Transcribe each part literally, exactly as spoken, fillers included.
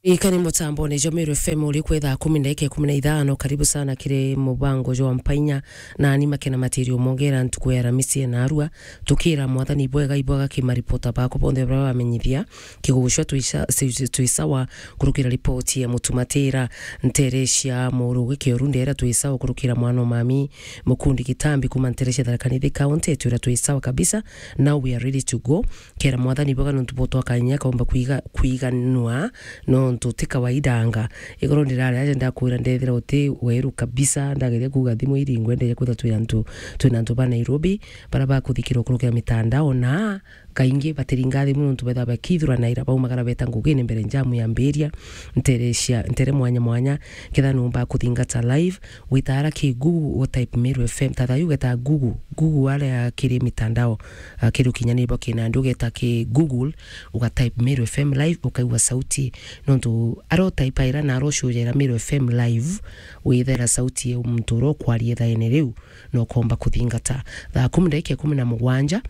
Ikani mutambone jwa Meru F M uri kwi thaa kumi na ikumi na ithano. Karibu sana kiri mubango jwa Mpainya, na ni Makena Matirio Mongera, ntuku ya Aramisi ya narua. Tukira Mwathani bwega ibwaga ki maripota baku bonthe baria bamenyithia. Kigugucwa twi sa-, twi sawa kurukira ripoti ya Mutumatira. Ntere cia Murugi Kioru ndera twi sawa kurukira mwana o mami Mukundi Gitambi kuma ntere cia Tharaka Nithi County, twira twi sawa kabisa. Now we are ready to go. Kera Mwathani bwega nontu butwakania kaumba kwiga-, kwiganua nontu ti kawaida anga. Igoro ndirari aja ndakwira ndethira uti weru kabisa, ndageria kuga thimu iringwe, ndeja kwithira twi antu, twina antu ba Nairobi, bara bakuthikira ukurukira mitandao na kaingi batiringa thimu nontu betha bakithuranaira baumagara beta ngugine mbere njamu yambiria, ntere cia, ntere mwanya mwanya, ketha numba kuthingata live, witara ki Google, u type Meru F M, tatha yu geta Google, Google aria kiri mitandao, ah, kiri ukinyaniria bwa kinandi, ugeta ki Google, uga type Meru F M live, ukaigua sauti. Nontu aro type ira na aro show ira Meru F M live, withera sauti ya muntu uria ukwaria ithaene riu, na ukomba kuthingata. Thaa kumi ndagika ikumi na mugwanja,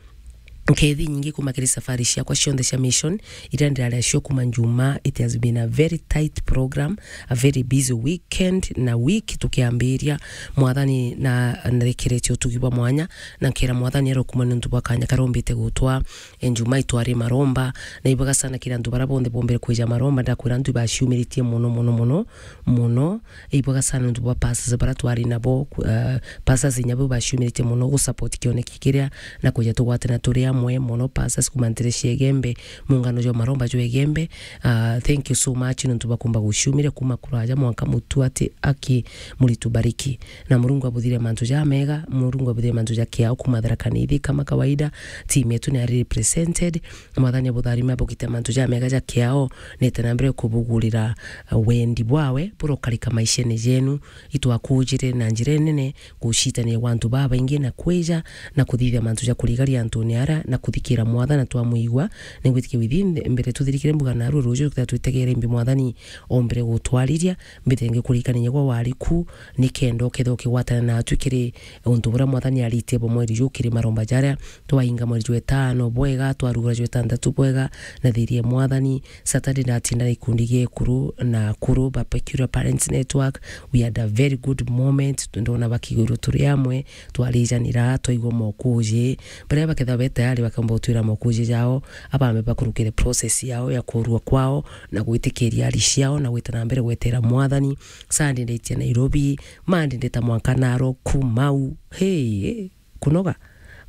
nkethi nyingi kuma kiri safari ciakwa cionthe cia mission, iria ndiraria cio kuma Njuma. It has been a very tight program, a very busy weekend na week tukiambiria. Mwathani na narekeretie utugi bwa mwanya, na nkera Mwathani arokuma nontu bwa kanya karombite gutwa. E, Njuma itwari maromba, na ibaga sana kira antu bara bonthe bombere kwija maromba, ndakwira antu ibaciumiritie mono, mono, mono, mono. Ibwega sana nontu bwa pastors bara twari nabo, ku-, ah, pastors inya bo baciumiritie mono gu support kioneki kiria na kuja tugwatana turi amwe mono. Pastors kuma ntere cia Igembe, mungano jwa maromba jwa Igembe, ah, thank you so much nontu bwa kumba guciumire kuma kuraja mwanka mutu ati aki Muritu Bariki. Na Murungu abuthire mantu ja mega, Murungu abuthire mantu ja kiao kuma Tharaka Nithi kama kawaida, team yetu ni ari represented. Mwathani abutharime abugite mantu ja mega ja kiao, nite na mbere kubugurira, uh, wendi bwawe burokarika maishene jenu. Itwakujire na njira nene gucitania gwa antu babaingi na kwija na kuthithia mantu ja kurigaria antuni ara na kuthikira Mwathani twamwigua. Ningwitikia withi mbere tuthirikire mbuga naru ruju twita twitegere mbi Mwathani ombere gutwariria mbithenge kurikania gwa wariku, nikenda ukethira ukigwatana natu kiri untu buria Mwathani aritie bwa mweri ju kiri maromba jaria twainga mweri jwa itano bwega, twarugura jwa itantatu bwega, na thirie Mwathani. Saturday ndatinda na ikundi gia ekuru na akuru ba Peculiar Parents Network. We had a very good moment, ndona bakiguru turi amwe, twarijanira, twaigua mokuji. Baria baketha be tayari bakamba gutwira mokuji jao, abambe bakurukire process yao ya kurua kwao, na gwitikiria ari ciao, na gwita na mbere gwetera Mwathani. Sunday ndaitia Nairobi, Monday ndeta mwanka Narok, Mau. Hey, kunoga,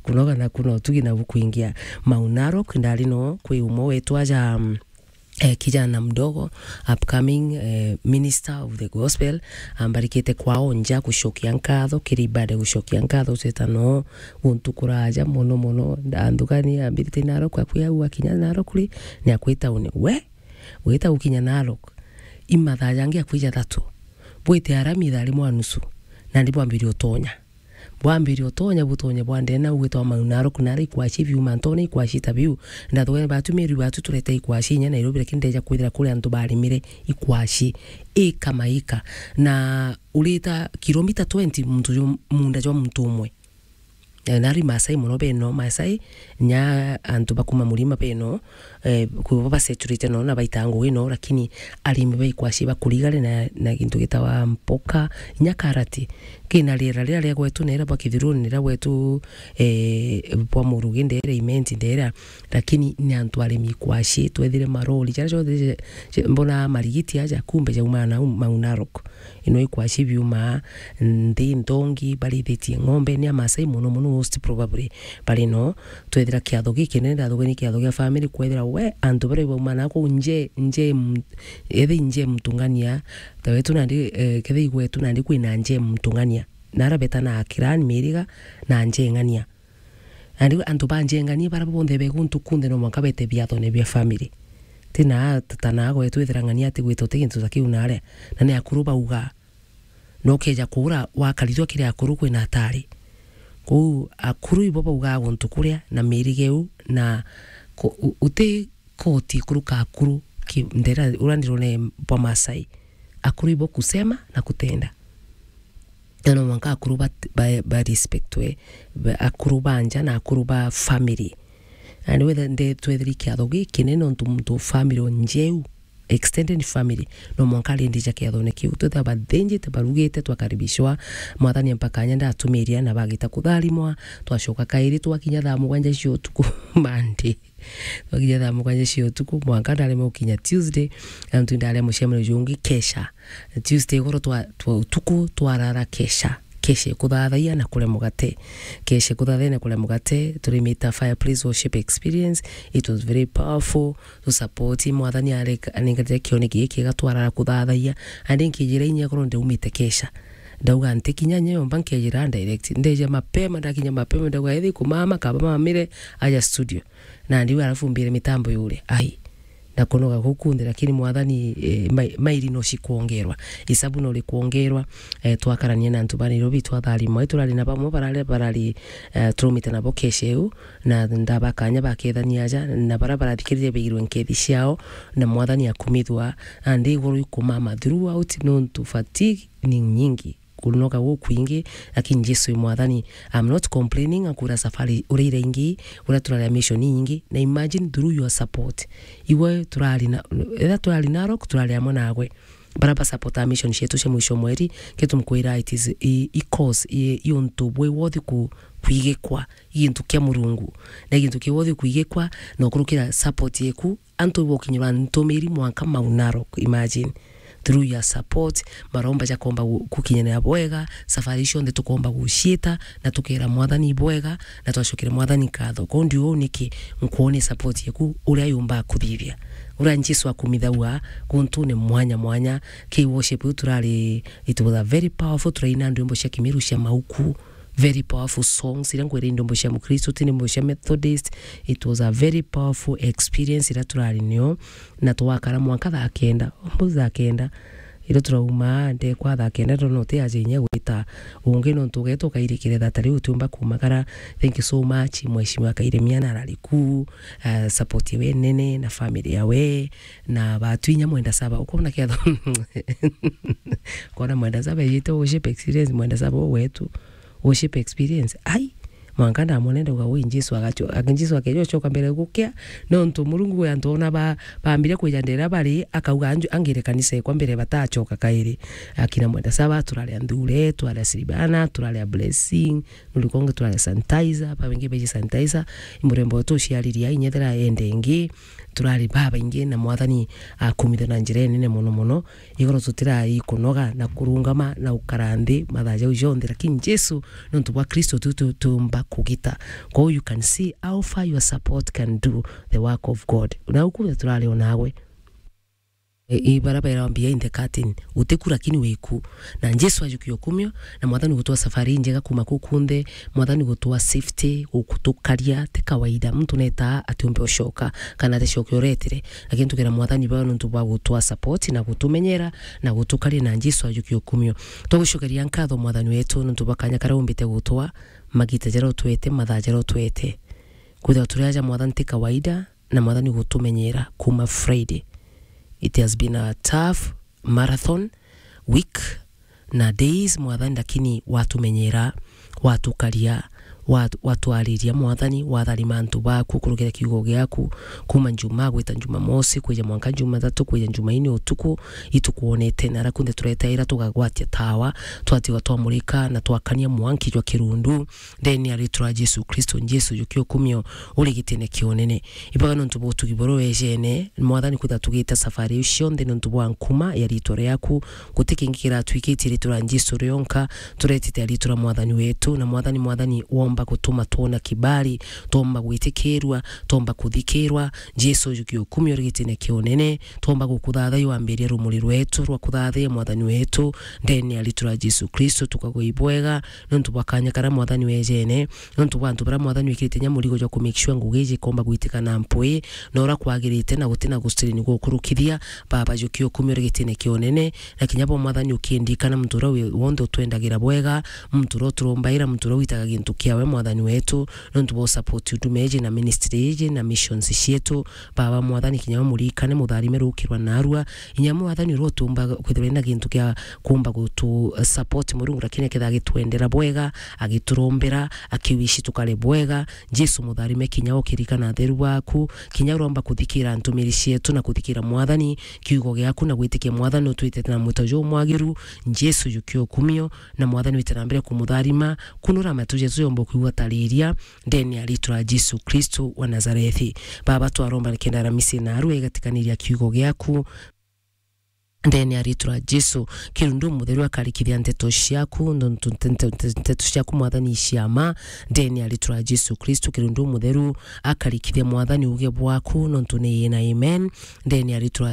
kunoga na kuna utugi na bukuingia. Mau Narok ndari no kwi umwe wetu aja, mm, eh, kijana mdogo, upcoming, eh, minister of the gospel, ambarikite kwao nja gucokia nkatho, kiri ibada gucokia nkatho, tweta no guntu kuraja mono mono, ndanthugani ambirite Narok, akwi au akinya Narok ri, ni akwita uni, we, wita gukinya Narok, imathaa jangi akwija thatu, bwite arami ithaa rimwe na nusu, nandi bwambirie utonya. Bwambirie utonya, butonye bwa ndene, ugwitwa Mau Narok, nara ikwaci biuma, ntone ikwaci ta biu. Ndathugani batu, Meru batu turete ikwaci inya Nairobi, lakini ndeja kwithira kuri antu barimire ikwaci ika maika. Na urita kilomita twenty muntu ju-, munda jwa muntu umwe. Eh, nari Maasai mono beno, Maasai, nya antu bakuma murima beno, eh, kwibo baseturite no na baita ngugi no, lakini arimi ba ikwaci bakurigare na, na gintu gitawa mpoka, inya karati. Kina riera riria ria gwetu, nera bwa Kithiruni, nera gwetu, eh, bwa Murugi, ndera Imenti, ndera, lakini ni antu arimi ikwaci, twethire marori, jaria jonthe je, je, mbona marigiti aja, kumbe jauma na Mau Narok. Ino ikwaci biuma nthi nthongi, barithitie ng'ombe, ni Amaasai mono mono, most probably bari no. Twethira kiatho gikinene, ndathugani kiatho gia family, kwethira we, antu baria bauma na kuu nje, nje m-, ethi nje mtungania, ta wetu nandi, eh, kethi igwetu nandi kwina nje mtungania. Na ara betana akirani miriga na nje ng'ania. Nandi antu ba nje ng'ania bara bonthe be guntu kunthe no mwanka bete biathone bia family. Tina ta na gwetu ethira ng'ania ati gwita uti gintu ta kiu naria. Na ni akuru bauga. Na ukeja kuura wakaritwa kiri akuru kwina atari. Kou akuru ibo baugaa guntu kuria na mirige u na ku-, u-, uti koti kuruka akuru ki-, ndera uria ndirone bwa Maasai. Akuru ibo kusema na kutenda. Na no mwanka akuru ba, ba, ba respectwe, ba, akuru ba nja na akuru ba family. Na ni wethe nde twethiri kiatho gikinene nontu muntu family o njeu. extended family, no mwanka arindi ja kiathone kiu. Twithira bathinjite, barugite, twakaribishwa, Mwathani ampa kanya ndatumiria na bagita kutharimwa, twacoka kairi twakinya thaa mugwanja cia utuku Monday. Twakinya thaa mugwanja cia utuku, mwanka ndaremwe gukinya Tuesday, na ntu ndaria mucemanio jungi kesha. Tuesday igoro twa, twa utuku twarara kesha. Kesha kuthathaia na kuria mugate. Kesha kuthathaia na kuria mugate, turimita fireplace worship experience. It was very powerful. Tu support, Mwathani areka-, anenkanire kione giki kiega twarara kuthathaia. Andi nkijira inya korwo ndaumite kesha. Ndauga ntikinya nyomba nkejira direct. Ndeja mapema, ndakinya mapema, ndauga, "Ethi kumama, kaba mamire, aja studio." Na ndiuga, "Alafu mbire mitambo yure." Ai. Na kunoga kuu kunthe, lakini Mwathani, eh, mai-, mairi no cikwongerwa. Isabu no rikwongerwa. Eh, twakarania na antu ba Nairobi, twatharimwa. Turari na bamwe barari, barari, eh, turumite nabo kesha iu, na ndaba kanya bakethania aja, na bara barathikiriria beirwe nkethi ciao, na Mwathani akumithwa, na ndi iguru ikumama throughout, nontu fatigue ni nyingi, kunoga gukwingi, lakini Jesu i Mwathani. I'm not complaining, akwira safari uria ira ingi, uria turari a mission inyingi, na imagine through your support. Iwe turari na, ethira turari Narok, turari amwe nagwe. Bara ba support a mission cietu cia mwisho mweri, kitu mkwira it is i, i cause, i, i untu bwi wothi ku, kwigikwa, i gintu kia Murungu. Na gintu kia wothi kwigikwa, na ukurukira support yeku, antu ibokinyirwa ntumiri mwanka Mount Narok, imagine. Through your support, maromba jakomba gu-, gukinyanira bwega, safari cionthe tukomba guciita, na tukera Mwathani bwega, na twacokere Mwathani nkatho. Kondi uu niki nkwone support yeku, uria yumba kuthithia. Uria Jesu akumithagua guntune mwanya mwanya, ki worship iu turari, it was a very powerful, turaina ndwimbo cia Kimiru cia mauku, very powerful songs, iria ngwira i ndwimbo cia Mukristo, ti ndwimbo cia Methodist. It was a very powerful experience iria turari nio, na twakara mwanka thaa kenda, almost thaa kenda, iria turauma ndekwa thaa kenda, ndona uti aja inya gwita ungi, nontu ugeeta ukairikire thaa ta riu utiumba kumakara. Thank you so much, Mheshimiwa Kairemia na arari ku, eh, support yawe nene, na family yawe, na batu inya Mwenda Saba, ukona kiatho, ukona Mwenda Saba ejite worship experience, Mwenda Saba u wetu, worship experience. Ai, mwanka ndamwone ndauga, "Ui, Jesu agacho-, ag-, Jesu akeja ucoka mbere gukia." Nontu Murungu kwi antu ona ba-, bambire kwija ndera bari, akauga, "Anju-, angire kanisa ekwa mbere batacoka kairi." Akina Mwenda Saba, turaria Nthure, turaria Silvana, turaria Blessing, nurikonge turaria Sanitizer, babingi beji Sanitizer, imurembo tuciariria, inyethera ende ingi, turari babaingi na Mwathani akumitha na njira inene mono mono. Igoro tutirai kunoga na kurungama na gukara nthi mathaa jau jonthe, lakini Jesu, nontu bwa Kristo, tu, tu, tumba kugita. Kwou you can see how far your support can do the work of God. Na uku turari o nawe. E, i bara bera behind the curtain. Utiku lakini wiku. Na Jesu ajukia ukumio, na Mwathani gutwa safari njega kuma kuu kunthe, Mwathani gutwa safety, gutukaria, ti kawaida. Muntu neta atiumbe ucoka, kana aticoke uretire. Lakini tukira Mwathani baba nontu bwa gutwa support na gutumenyera na gutukaria, na Jesu ajukia ukumio. Twagucokeria nkatho Mwathani wetu nontu bwa kanya karia umbite gutwa, magita jaria utwete, mathaa jaria utwete. Kwithirwa turi aja Mwathani ti kawaida, na Mwathani gutumenyera kuma Friday. It has been a tough marathon week na days, Mwathani, lakini watumenyera, watukaria, watu-, watwariria, Mwathani, watharima antu baku kurukira kiugo giaku, kuma Njumaa gwita Njumamosi, kwija mwanka Njumathatu, kwija Njumaine utuku, itukwonete, na ara kunthe turetaira tugagwatia tawa, twatigwa twamurika na twakania mwanki jwa kirundu, ndene ya ritwa ria Jesu Kristo. Jesu, jukia ukumio, uri gitine kia unene. Ibaga nontu bwa utugi buru wejene, Mwathani, kwithirwa tugite safari iu cionthe nontu bwa nkuma ya ritwa riaku. Guti kingi kiratwikitie ritwa ria Jesu rionka, turetite ritwa ria Mwathani wetu, na Mwathani, Mwathani, womba gutuma twona kibali, twomba gwitikirua, twomba kuthikirwa. Jesu, jukia ukumio, uri gitine kia unene, twomba gukuthathaiya wambiria rumuri rwetu rwa kuthathaiya, Mwathani wetu, ndene ya ritwa ria Jesu Kristo, tukagwa ibwega, nontu bwa kanya karia Mwathani wejene, nontu bwa antu baria Mwathani wikirite inya murigo jwa ku make sure ngugi iji ikomba gwitika na mpwi, na uria kwagirite, na guti na gustrain gukurukithia, Baba, jukia ukumio, uri gitine kia unene, na kinya bo Mwathani ukindirikana muntu uria wi-, wonthe utwendagira bwega, muntu uria uturombaira, muntu uria witaga gintu kiawe Mwathani wetu, nontu bwa support huduma iji na ministry iji na missions cietu. Baba Mwathani, kinya we murikane, mutharime rukirwa narua. Inya Mwathani, uria utumba kwithirwa na gintu kia kumba gutu support Murungu, lakini akethira agitwendera bwega, agiturombera, akiwishi tukare bwega. Jesu mutharime, kinya ukirikana atheru baku, kinya uromba kuthikira ntumiri cietu na kuthikira Mwathani, kiugo giaku na gwitikia Mwathani utwitite na mwito jumwagiru. Jesu jukia ukumio, na Mwathani wite na mbere kumutharima, kunura matu jetu yomba kuigua tariria, ndene ya ritwa ria Jesu Kristo wa Nazarethi. Baba, twaromba nikenda Aramisi naru igatikaniria kiugo giaku, ndene ya ritwa ria Jesu. Kirundu mutheru akarikithia nteto ciaku, nontu nte-, nte-, nte-, nteto ciaku Mwathani iciama, ndene ya ritwa ria Jesu Kristo. Kirundu mutheru akarikithia Mwathani uge bwaku, nontu ni ina amen, ndene ya ritwa ria